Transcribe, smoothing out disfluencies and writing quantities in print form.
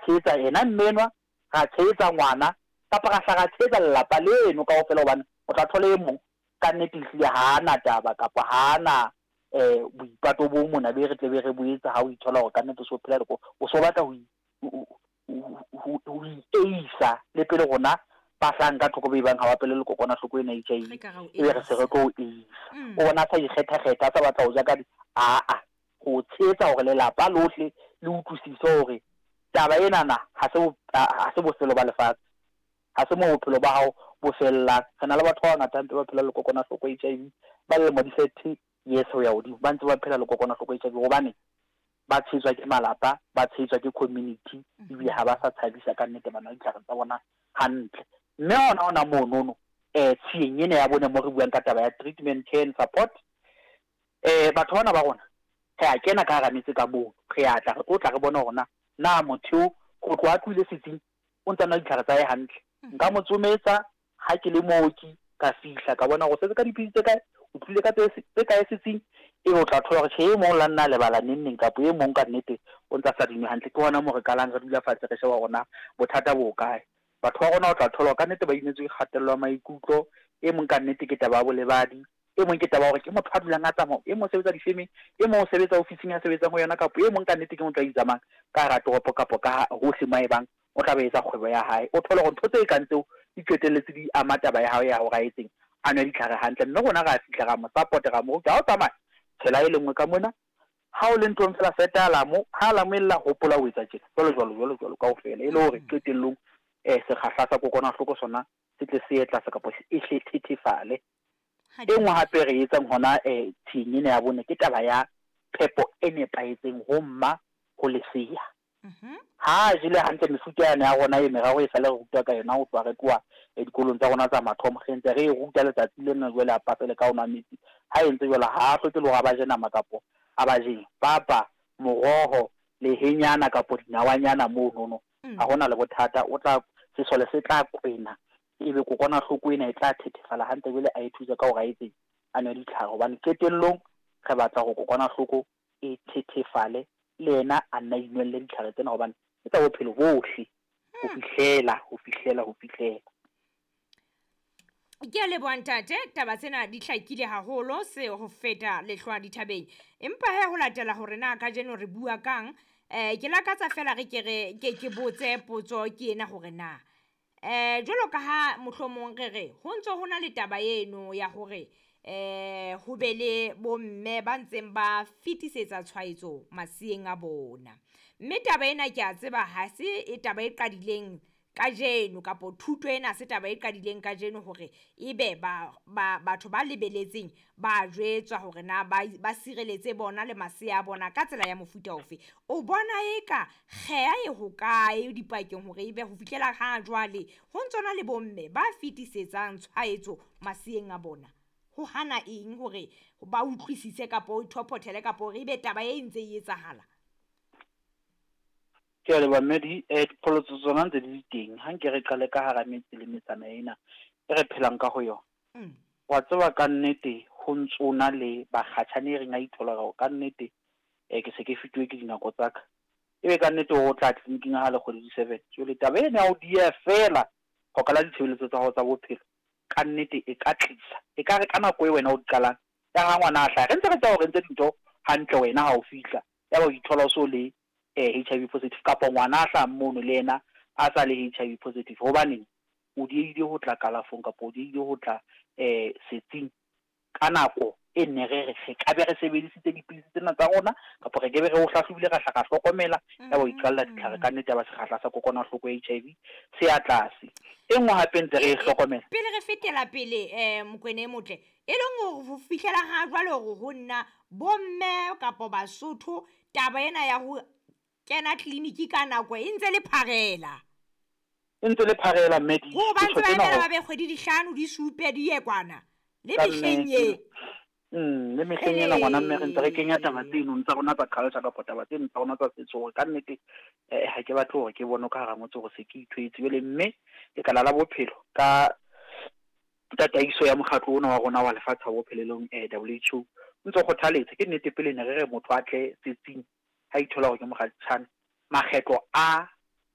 tshehetsa yena mme enwa, ra tshehetsa ngwana, kapa ra hla ra tshehetsa lelapa leno kaofela hobane o tla thola e mong ka nnete ehlile ha a na taba kapa ha a na um boipato bo mona be re tle be re bo etsa ha o ithola hore ka nnete o so phela le o so batla ho ho ieisa le pele rona ba hlang ka thoko be bang ha ba pele le kokwanahloko ena HIV e be re se re tlo o eisa. O bona a sa ikgetha-kgetha, a sa batla ho ja ka aa ho tshehetsa hore lelapa lohle le utlwisise hore taba enana ha se ha se bofelo ba lefatshe, ha se moo bophelo ba hao bo fellang. Re na le batho ba bangata hampe ba phelang le kokwanahloko HIV ba lemo di 30 years ho ya hodimo, ba ntse ba phela le kokwanahloko HIV hobane ba tshehetswa ke malapa, ba tshehetswa ke community, ebile ha ba sa tshabisa ka nnete, ba nwa ditlhare tsa bona hantle. Mme hona hona monono tshiyeng ena ya bone mo re buang ka taba ya treatment, care and support, batho bana ba rona re a kena ka hara metse ka mono, re a tla re tlo tla re bone hore na na motho eo ho tloha a tlohile setsing o ntse a nwa ditlhare tsa hae hantle. Nka mo tsometsa ha ke le mooki, ka fihla ka bona hore o setse ka dipidisi tse kae, o tlile ka tse tse kae setsing, ebe o tla thola hore tjhe e mong la nna a lebala neng neng kapa e mong ka nnete o ntse a sa di nwe hantle. Ke hona moo re qalang re dula fatshe re sheba hore na bothata bo hokae. Batho ba rona o tla thola hore ka nnete ba imetswe ke kgatello ya maikutlo, e mong ka nnete ke taba ya bolebadi, e mong ke taba ya hore ke motho a dulang a tsamaya, e mong o sebetsa difemeng, e mong o sebetsa ofising a sebetsang ho yona, kapa e mong ka nnete ke motho a itsamayang ka hara toropo kapa ka hohle mo a ebang o tla be etsa kgwebo ya hae. O thole hore ntho tse kang tseo di qetelletse di ama taba ya hae ya hore a etseng, a nwe ditlhare hantle. Mme rona ra fihla ra mo support-a, ra mo ruta, ha o tsamaya tshela e le nngwe ka mona, ha o le nthong fela seta alamo, ha alamo e lla hopola ho etsa tjena, jwalo jwalo jwalo jwalo kaofela, e le hore qetellong sekgahla sa kokwanahloko sona se tle se ye tlase kapa e hle thethefale. E nngwe hape re etsang hona tsheng ena ya bone ke taba ya phepo e nepahetseng ho mma ho lesea. Ha a jele hantle mefuta yane ya rona e meraro e sale re rutwa ka yona ho tloha re tloha dikolong tsa rona tsa mathomo, re ntse re e ruta letsatsi lena jwale a pasele ka ho nwa metsi. Ha e ntse jwalo ha a hloke le hore a ba je nama kapo a ba jeng papa, moroho, lehenyana kapo dinawanyana monono, ha hona le bothata. O tla sesole se tla kwena ebe kokwanahloko ena e tla thethefala hantle jwale a e thuse ka hore a etseng, a nwe ditlhare hobane qetellong re batla hore kokwanahloko e thethefale le yena a nna a inwelle ditlhare tsena hobane ke tsa bophelo bohle ho fihlela ho fihlela ho fihlela. Ke a leboha ntate, taba tsena di hlakile haholo se ho feta lehlwa dithabeng. Empa he ho latela hore na kajeno re bua kang, ke lakatsa fela re ke re ke ke botse potso ke ena hore na jwalo ka ha mohlomong re re ho ntso ho na le taba eno ya hore ho be le bomme ba ntseng ba fetisetsa tshwaetso maseeng a bona. Mme taba ena ke a tseba ha se e taba e qadileng kajeno kapo thuto ena se taba e qadileng kajeno hore ebe ba ba batho ba lebeletseng ba jwetswa hore na ba ba sireletse bona le masea a bona ka tsela ya mofuta ofe. O bona eka kgeha e hokae dipakeng hore ebe ho fihlela ha jwale ho ntsona le bomme ba fetisetsang tshwaetso maseeng a bona? Ho hana eng hore ba utlwisise kapo o thophothele kapo hore ebe taba e ntse e etsahala? Ke a leboha Mmedi. Dipholotso tsona ntse di le teng. Ha nke re qale ka hara metse le metsana ena e re phelang ka ho yona. Wa tseba ka nnete ho ntsona le bakgatjhane e reng a ithola hore ka nnete ke se ke fetuwe ke dinako tsa ka. Ebe ka nnete o tla tleliniking ha le kgwedi di 7. Jwale taba ena ya ho dieha feela ho qala ditshebeletso tsa hao tsa bophelo ka nnete e ka tlisa. E ka re ka nako e wena o di qalang ya ha ngwana a hlaha, re ntse re tseba hore ntse dintho hantle wena ha o fihla, ya ba o ithola o so le HIV positive kapa ngwana a hlahang mono le yena a sa le HIV positive. Hobaneng o diehile ho tla kalafong kapa o diehile ho tla setsing ka nako e nne re re re ka be re sebedisitse dipidisi tsena tsa rona kapa re ke be re o hlahlobile ra hla ra hlokomela ya ba o iqalla ditlhare ka nnete ya ba sekgahla sa kokwanahloko ya HIV se ya tlase. E nngwe hape ntse re e hlokomela. Pele re fetela pele Mokwena e motle, e leng hore ho fihlela ha jwale hore ho nna bomme kapo Basotho taba ena ya ho kena tleliniki ka nako e ntse le pharela. E ntse le pharela mme di Ho ba ntse ba emela ba be kgwedi di hlano di supe di ye kwana le mehleng ye. Le mehleng ena ngwana mme re ntse re kenya taba tseno tsa rona tsa culture kapa taba tseno tsa rona tsa setso hore ka nnete ha ke batle hore ke bone ka hara motse hore se ke ithwetse. Jwale mme lekala la bophelo ka tataiso ya mokgatlo ona wa rona wa lefatshe wa bophelo e leng WHO o ntse o kgothaletsa. Ke nnete pele ne re re motho a tle setsing ha ithola hore ke mokgatjhane makgetlo a